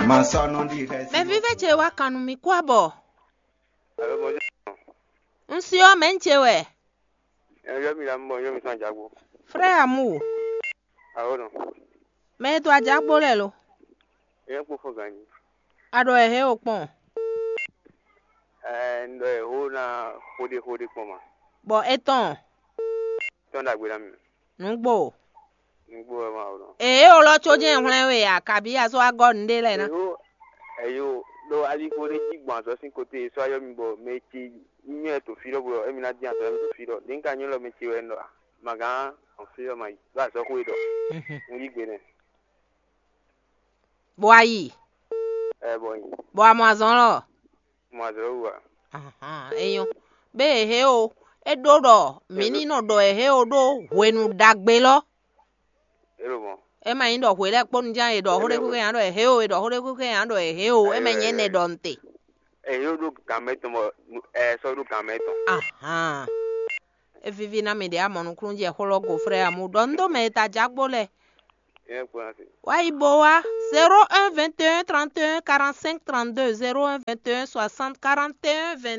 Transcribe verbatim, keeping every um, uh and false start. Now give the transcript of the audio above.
Mɛ vívɛ́ ce wá kan nú mì kú abɔ. Un si ɔ́, mɛ̌ un ce wɛ? Yɔ́mì la mɔ yɔ́mì tɔn jǎgbó. Frère Amour, Awo nɔ. Mɛ e dó ajǎgbó lɛ́ɛ lo? Yɛn kpó fɔ ganji. A ɖɔ ɛ hɛn o kpɔn. Ɛɛ, un ɖɔ ɛ hó ná xóɖé xóɖé kpɔn ma. Bɔ é tɔn. Tɔn ɖagbe ná mi. Nǔgbó. Nǔgbó wɛ ma o nɔ. Ee, o lɔ có jɛ́n hwlɛ́n we a, kabí a sɔ́ wá gɔ́ nǔɖé lɛ́ɛ ná. Eyo, eyo, ɖo aligbó ɖé jí gbɔn azɔ̌ sín kote e sɔ́ ayɔ mi bɔ mɛ ce nyɔ́ ɛ to fí ɖɔ bɔ émi ná dín azɔ̌ émi to fí ɖɔ. Ɖě un ka nyɔ́ lɔ mɛ ce wɛ un ɖɔ a, magán ɔn fí ɖɔ ma yi ɖo azɔ̌ xwe ɖɔ. Un yí gbe nɛ. Bɔ a yi. Ɛ bɔ yi. Bɔ a mɔ azɔn lɔ. Mɔ azɔ̌ wú a. Ahan, é nyɔ́. Bé e hé o, é ɖó ɖɔ mǐ ní nɔ ɖɔ ɛ hé o ɖó hwenu ɖagbe lɔ. É ɖo mɔ. É ma nyí ɖɔ hwe lɛ́ɛ kpó nu ján e ɖɔ xó ɖé xwé xwé nya ɖɔ ɛ hé o, e ɖɔ xó ɖé xwé xwé nya ɖɔ ɛ hé o, é ma nyí ɛnɛ ɖɔ nte. Ɛ yóò ɖó gǎn mɛ tɔn bɔ ɛ sɔ́ ɖó gǎn mɛ tɔn. Ahan. É víví ná mi ɖě a mɔ nukúnnú jɛ xó lɔ go frère Amour ɖɔ un ɖó mɛ e ta jǎ kpó lɛ́ɛ. Yɛn kpɔ́n asi. Wá yi bo wá zéro un vingt et un trente et un quarante-cinq trente-deux, zéro un vingt et un soixante quarante et un vingt.